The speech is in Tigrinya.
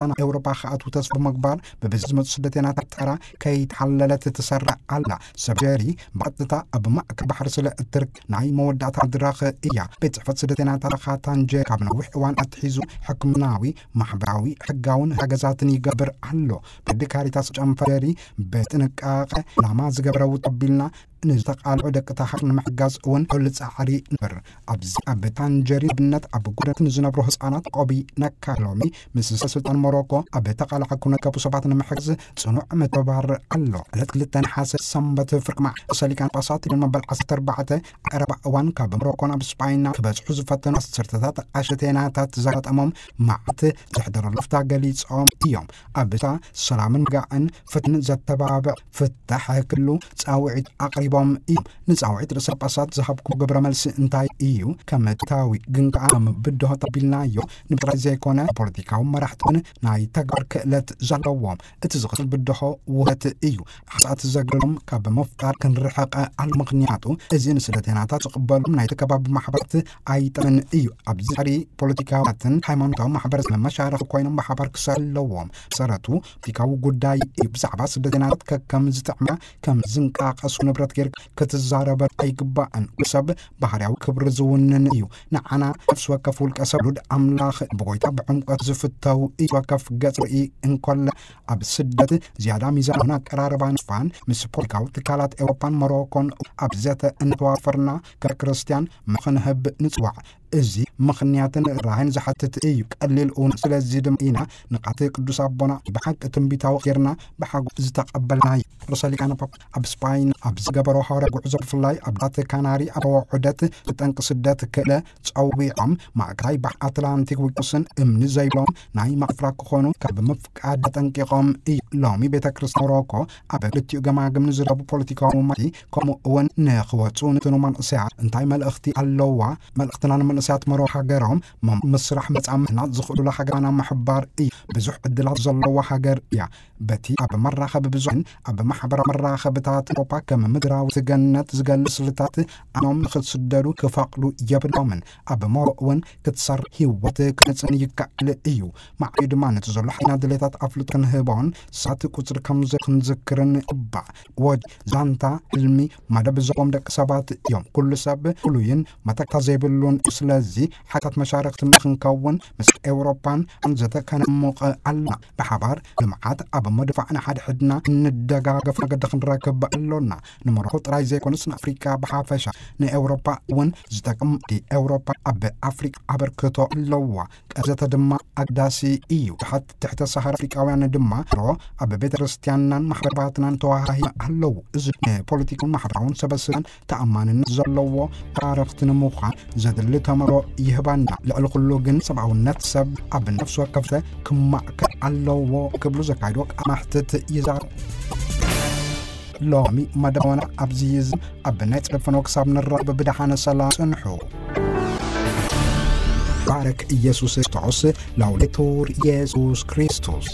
ናብ ኤውሮጳ ክኣትዉ ተስፋ ብምግባር፣ ብብዝሒ ዝመጹ ስደተኛታት ተራ ከይተሓለለት ትሰርዕ ኣላ። ሰብ ጀሪ ብቐጥታ ኣብ ማእከል ባሕሪ ስለ እትርከብ፣ ናይ መወዳእታ መድረኽ እያ። ቤት ጽሕፈት ስደተኛታት ካታንጀ ካብ ነዊሕ እዋን ኣትሒዙ ሕክምናዊ፣ ማሕበራዊ፣ ሕጋውን ሓገዛትን ይገብር ኣሎ። ብዲ ካሪታስ ጨንፈር ጀሪ ብጥንቃቐ ዕላማ ዝገበረ ውጥቢልና ንዝተቓልዑ ደቂ ተሃር ንምሕጋዝ እውን ኩሉ ጻዕሪ ንበር። ኣብዚ ኣብ ታንጀሪ ኣብነት ኣብ ጎደናት ንዝነብሩ ህጻናት ቆቢ ነካ። ሎሚ ምስ ሰበ ስልጣን ሞሮኮ ኣብ ተቓላዕ ኩነት ከቡ ሰባት ንምሕጋዝ ጽኑዕ ምትብባር ኣሎ። ዕለት ክልተ ነሓሰ ሰንበት ፍርቂ መዓልቲ ርእሰ ሊቃነ ጳጳሳት ሊዮን መበል ዓሰርተ ኣርባዕተ ቀረባ እዋን ካብ ሞሮኮ ናብ ስጳይና ክበጽሑ ዝፈተኑ ዓሰርተታት ኣሸቴናታት ዘጋጠሞም መዓት ዘሕደረሉ ፍታ ገሊጾም እዮም። ኣብታ ሰላምን ጋዕን ፍትን ዘተባብዕ ፍታሕ ክሉ ጻውዒት ኣቕሪቦም እዮም። ንጻውዒት ርእሰ ጳጳሳት ዝሃብኩ ግብረ መልሲ እንታይ እዩ? ከም ታዊ ግን ከኣ ከም ብድሆ ተቢልናዮ ንብጥራይ ዘይኮነ ፖለቲካዊ መራሕትን ናይ ተግባር ክእለት ዘለዎም። እቲ ዝኽእል ብድሆ ውህት እዩ። ሓሳት ዘግርሎም ካብ ምፍጣር ክንርሕቐ ኣሎ። ምኽንያቱ እዚ ንስደተኛታት ዝቕበሎም ናይቲ ከባቢ ማሕበራት ኣይጠምን እዩ። ኣብዚ ጻዕሪ ፖለቲካውያትን ሃይማኖታዊ ማሕበረሰብ መሻረኽ ኮይኖም ብሓባር ክሰርሑ ኣለዎም። ሰረቱ ፖለቲካዊ ጉዳይ እዩ። ብዛዕባ ስደተኛታት ከከም ዝጥዕማ ከም ዝንቀሳቐሱ ንብረት ጌርካ ክትዛረበ ኣይግባእን። ሰብ ባህርያዊ ክብሪ ዝውንን እዩ። ንዓና ነፍሲ ወከፍ ውልቀ ሰብ ሉድ ኣምላኽ ብጎይታ ብዕምቆት ዝፍተው እዩ። ወከፍ ገጽ ርኢ እንኮለ ኣብ ስደት ዝያዳ ሚዛን ሆነ ኣቀራርባ ንፋን ምስ ፖለቲካዊ ትካላት ኤውሮፓን ሞሮኮን ኣብ ዘተ እንተዋፈርና ከም ክርስትያን ምኽንህብ ንጽዋዕ። እዚ ምኽንያትን ራህን ዝሓትት እዩ። ቀሊል እውን። ስለዚ ድማ ኢና ንቃት ቅዱስ ኣቦና ብሓቂ ትንቢታዊ ጌርና ብሓጎስ ዝተቐበልናዮ። ርእሰ ሊቃነ ጳጳ ኣብ ስጳይን ኣብ ዝገበሮ ሃዋርያ ጉዕዞ ብፍላይ ኣብ ዳት ካናሪ ኣብ ዑደት ብጠንቂ ስደት ክእለ ጸዊዖም ማእከላይ ባሕሪ ኣትላንቲክ ውቅያኖስን እምኒ ዘይብሎም ናይ ማእፍራ ክኾኑ ካብ ምፍቃድ ኣጠንቂቖም እዩ። ሎሚ ቤተ ክርስቲያን ሞሮኮ ኣብ ክልቲኡ ገማግም ንዝረቡ ፖለቲካዊ ሙማቲ ከምኡ እውን ንኽወጹ ንትኑ መንእሰያት እንታይ መልእኽቲ ኣለዋ? መልእኽትና ንመንእሰያት ሞሮኮ ሃገሮም መ-፣ ምስራሕ መጻምድና ዝኽእሉላ ሃገራና ምሕባር እዩ። ብዙሕ ዕድላት ዘለዋ ሃገር እያ። በቲ ኣብ መራኸቢ ብዙሕን ኣብ ማሕበራዊ መራኸብታት ኤውሮፓ ከም ምድራዊ ገነት ዝገልጽ ስልታት ኣኖም ንኽትስደዱ ክፈቕዱ የብሎምን። ኣብ ሞሮ እውን ክትሰር ህይወት ክነጽን ይከኣል እዩ። ማዕዩ ድማ ነቲ ዘሎ ሓይና ድሌታት ኣፍልጦ ክንህቦን ሳት ቁጽሪ ከም ዘ-፣ ክንዝክርን ይግባእ። ወጅ ዛንታ ሕልሚ መደብ ዘለዎም ደቂ ሰባት እዮም። ኩሉ ሰብ ፍሉይን መተካ ዘይብሉን እዩ። ስለዚ ሓታት መሻርክቲ ክንከውን ምስ ኤውሮፓን ዘተ ከነሙቕ ኣለና። ብሓባር ልምዓት ኣብ ምድፋዕ ንሓድሕድና እንደጋገፍ መገዲ ክንረክብ ኣሎና። ንሞሮኮ ጥራይ ዘይኮነስ ንኣፍሪቃ ብሓፈሻ ንኤውሮፓ እውን ዝጠቅም። ኤውሮፓ ኣብ ኣፍሪቃ ኣበርክቶ ኣለዋ። ቀዘተ ድማ ኣግዳሲ እዩ። ትሕት-፣ ትሕተ ሰሃራ ኣፍሪቃውያን ድማ ሮ ኣብ ቤተ ክርስቲያንናን ማሕበረባትናን ተዋሃሂ ኣለዉ። እዚ ንፖለቲካውን ማሕበራውን ሰበስልጣን ተኣማንነት ዘለዎ ታረኽቲ ንምዃን ዘድሊ ተመሮ ይህባና። ልዕሊ ኩሉ ግን ሰብኣውነት ሰብ ኣብ ነፍሲ ወከፍተ ክማእከል ኣለዎ ክብሉ ዘካይዶ ቃለ መሕትት ይዛረቡ። ሎሚ መደቦና ኣብዚ ይዝም። ኣብ ናይ ጽደፈኖ ክሳብ ንራኸብ ብደሓነ ሰላም ጽንሑ። ባረክ ኢየሱስ ክርስቶስ። ላውዴቱር ኢየሱስ ክርስቶስ።